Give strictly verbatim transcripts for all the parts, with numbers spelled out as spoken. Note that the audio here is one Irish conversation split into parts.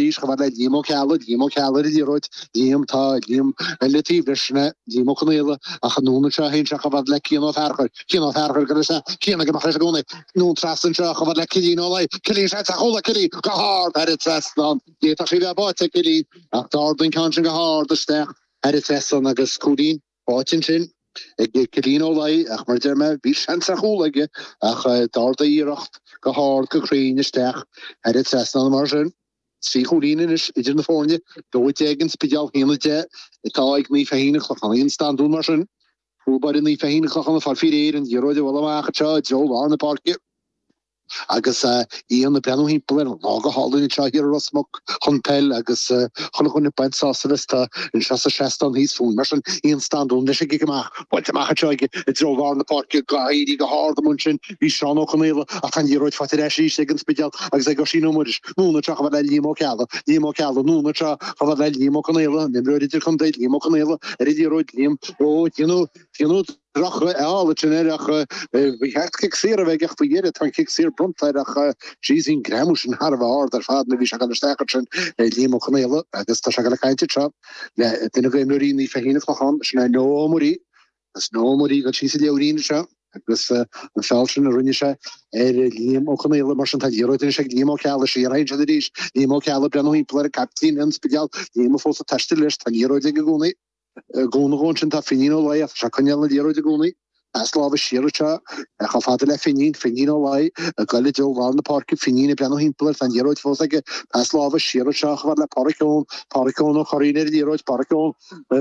arís chomh fada le Liam Ó Ceallaigh, Liam Ó Ceallaigh ar an liathróid, Liam, tá Liam le taobh leis, sin é Liam Ó Conaola ach anonn anseo théann sé chomh fada le Cian Ó Fearchair, Cian Ó Fearchair go leis Cian ag imeacht leis i gcónaí, anonn trasna anseo chomh fada le Cillian Ó Laoi, Cillian seans ar chúl ag Cillian go hard thar an trasnán, d'fhéadfadh sí a bheith báite ag Cillian ach d'ardaigh an ceann sin go hard isteach thar an trasnán agus cúilín báite ansin ag Cillian Ó Laoi ach mar a deir mé bhí seans ar chúl aige ach d'ardaigh a iarracht go hard go cruinn isteach thar an trasnán mar sin. Trí chúilín anois idir na foirne, dó a deich ag an Spidéal, haon a deich atá ag Naomh Feichín an Chlocháin. Ian Standún mar sin. Cúl báire Naomh Feichín an Chlocháin ag fáil faoi réir an liathróid a bhualadh amach anseo i dtreo lár na páirce. Agus Ian ag breathnú thimpeall air, lá go hálainn anseo thiar i Ros Muc chun peil agus chuile dhuine ag baint sásamh as tá anseo sa seastán thíos fúinn. Mar sin, Ian Standún leis an gcic amach, buailte amach anseo aige i dtreo lár na páirce, ag éirí go hard amuigh ansin bhí Seán Ó Conaola ach tá an liathróid faighte ar ais arís ag an Spidéal agus ag Oisín Ó Muiris. Anonn anseo chomh fada le Liam Ó Ceallaigh, Liam Ó Ceallaigh, anonn anseo chomh fada le Liam Ó Conaola, an imreoir idirchontae Liam Ó Conaola ar an liathróid, Liam Ó déanamh, déanamh. Droch-fheall ansin air ach ba cheart cic saor a bheith aige ach faoi dheireadh tá an cic saor bronnta air ach jeez bhí an greamú sin thar a bheith ard ar fad nuair a bhí sé ag dul isteach ansin Liam Ó Conaola agus tá sé ag dul ag caint anseo le duine d'imreoirí Naomh Feichín an Clochán, sin é Noah Ó Muirí agus Noah Ó Muirí ag dul síos an leabhairín anseo agus an feall sin a rinne sé ar Liam Ó Conaola mar sin tá liathróid anois ag Liam Ó Ceallaigh siar a théann siad arís Liam Ó Ceallaigh breathnú thimpeall ar an captaen an Spidéal Liam fós ag taisteal leis tá liathróid aige i gcónaí. I gcúnamh dhó ansin tá Finín Ó Laoi ach tá sé ag coinneáil na liathróide i gcónaí. Pas láimhe siar anseo chomh fada le Finín, Finín Ó Laoi ag goil i dtreo lár na páirce, Finín ag breathnú thimpeall air, tá an liathróid fós aige. Pas láimhe siar anseo chomh fada le Pádraic Eoin, Pádraic Eoin Ó Curraoin ar an liathróid, Pádraic Eoin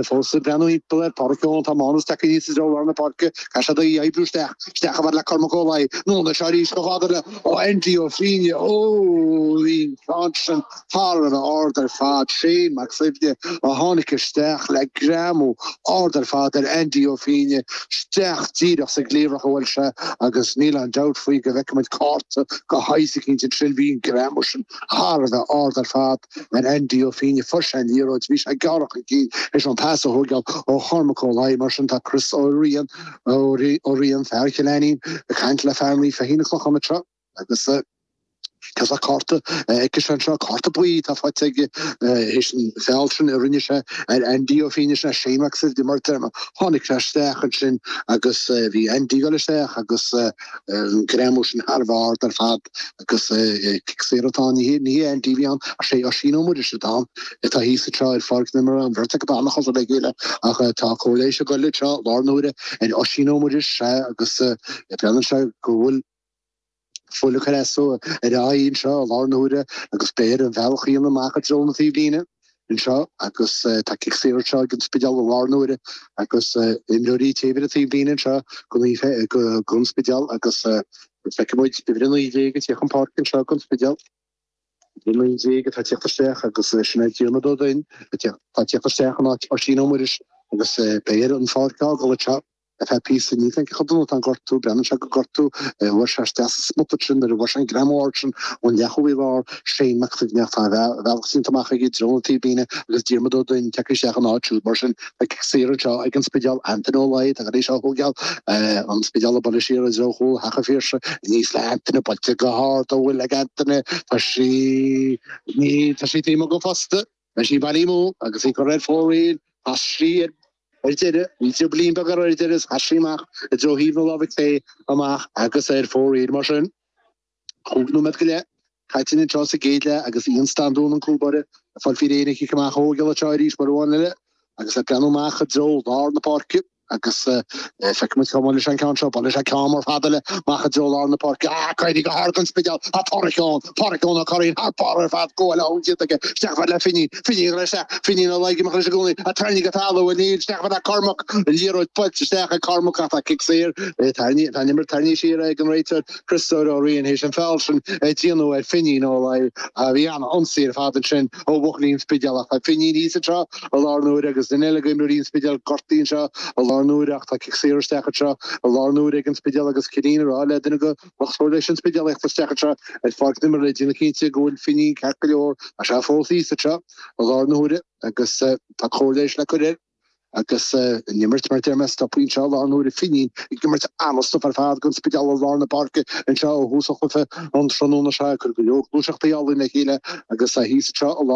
fós ag breathnú thimpeall air, Pádraic Eoin, tá Mánas tagtha aníos i dtreo lár na páirce, caithfidh sé í a oibriú isteach, isteach chomh fada le Cormac Ó Laoi, anonn anseo arís chomh fada le Andy Ó Fínne, ó bhí an ceann sin thar a bheith ard ar fad, Shane Mac Suibhne a tháinig isteach le greamú ard ar fad ar Andy Ó Fínne, isteach díreach sa gcliabhrach a bhuail sé agus níl aon dabht faoi go bhfeicfidh muid cárta de shaghas eicínt ansin. Bhí an greamú sin thar a bheith ard ar fad ar Andy Ó Fínne. Fuair sé an liathróid, bhí sé ag gearradh chun cinn théis an pas a thógáil ó Chormac Ó Laoi. Mar sin tá Chris Ó Riain, Ó Riain, fear Chill Ainnín, ag caint le fear Naomh Feichín an Chlocháin anseo agus. Tá cárta aici anseo, cárta buí atá faighte aige théis an feall sin a rinne sé ar Andy Ó Fínne, sin é Shane Mac Suibhne mar a deir mé. Tháinig sé isteach ansin agus bhí Andy ag dul isteach agus an greamú sin thar a bheith ard ar fad agus cic saor atá ann. Ní hé Andy a bhí ann ach sé Oisín Ó Muiris atá ann atá thíos anseo ar pháirc na himeartha, an bheirt acu an-chosúil le chéile ach tá cóir leighis ag dul anseo i láthair na huaire ar Oisín Ó Muiris agus breathnaíonn sé go bhfuil Fuil ag cur as dó ar a aghaidh anseo i láthair na huaire agus beidh air an bealach a dhéanamh amach i dtreo na taobhlíne anseo agus tá cic saor anseo ag an Spidéal i láthair na huaire agus imreoirí taobh ar an taobhlíne anseo go don Spidéal agus feicfidh muid uimhir a naoi déag ag tíocht chun páirce anseo don Spidéal. Uimhir a naoi déag atá ag tíocht isteach agus sin é Diarmuid Ó Duinn atá ag tíocht isteach in áit Oisín Ó Muiris agus beidh air an pháirc a fhágáil anseo. Ar feadh píosa, níl a fhios agam cé chomh dona atá an gortú, breathnaíonn sé gur gortú a bhuail sé isteach sa smut sin nuair a bhuail sé an greamú ard sin ón leathchúlaí láir, Shane Mac Suibhne ach tá a bhealach déanta amach aige i dtreo na taobhlíne agus Diarmuid Ó Duinn tagtha isteach ina áit siúd. Mar sin, tá cic saor anseo ag an Spidéal, Antaine Ó Laoi atá tar éis á thógáil, an Spidéal ag bualadh siar i dtreo chúl Theach an Phiarsaigh, aníos le Antaine, buailte go hard, an bhfuil ag Antaine, tá sí, ní, tá sí taobh amuigh den phosta, beidh sí bailí amú agus í curtha ar fóraoil, chas sí ar. Ar deireadh, bhí driblín beag uirthi ar deireadh is chas sí amach i dtreo thaobh na láimhe clé amach agus ar fóraoil mar sin. Cúig nóiméad go leith caite anseo sa gcéad leath agus Ian Standún an cúl báire ag fáil faoi réir an chic amach a thógáil anseo arís uair amháin eile agus ag breathnú amach i dtreo lár na páirce agus feicfidh muid cá mbuailfidh sé an ceann seo. Buailfidh sé ceann mór fada eile amach i dtreo lár na páirce. Ah, éirí go hard don Spidéal. Tá Pádraic Eoin, Pádraic Eoin Ó Curraoin thar barr ar fad go bhfuil a thóin déanta aige. Isteach fad le Finín, Finín ag dul isteach, Finín Ó Laoi ag imeacht leis i gcónaí, ag tarraingt go talamh, níl, isteach fad le Cormac, an liathróid buailte isteach ag Cormac ach tá cic saor, tá an imirt tarraingthe siar ag an réiteoir Christopher Ó Riain théis an feall sin a déanamh ar Finín Ó Laoi. Bhí an-ionsaí ar fad ansin ó bhuachaillí an Spidéil ach tá Finín thíos anseo i láthair na huaire agus duine eile d'imreoirí an Spidéil gortaithe anseo i láthair na huaire ach tá cic saor isteach anseo i láthair na huaire ag an Spidéal agus Cillian ag rá le duine de lucht cóir leighis an Spidéil a theacht isteach anseo ar pháirc na himeartha le déanamh cinnte go bhfuil Finín ceart go leor. Tá sé fós thíos anseo i láthair na huaire agus tá cóir leighis le cur air agus an imirt mar a deir mé stoptha anseo i láthair na huaire. Finín ag imirt an-stuif ar fad don Spidéal i lár na páirce anseo ó thús an chluiche an tráthnóna seo ag cur go leor gluaiseachtaí álainn le chéile agus thíos anseo i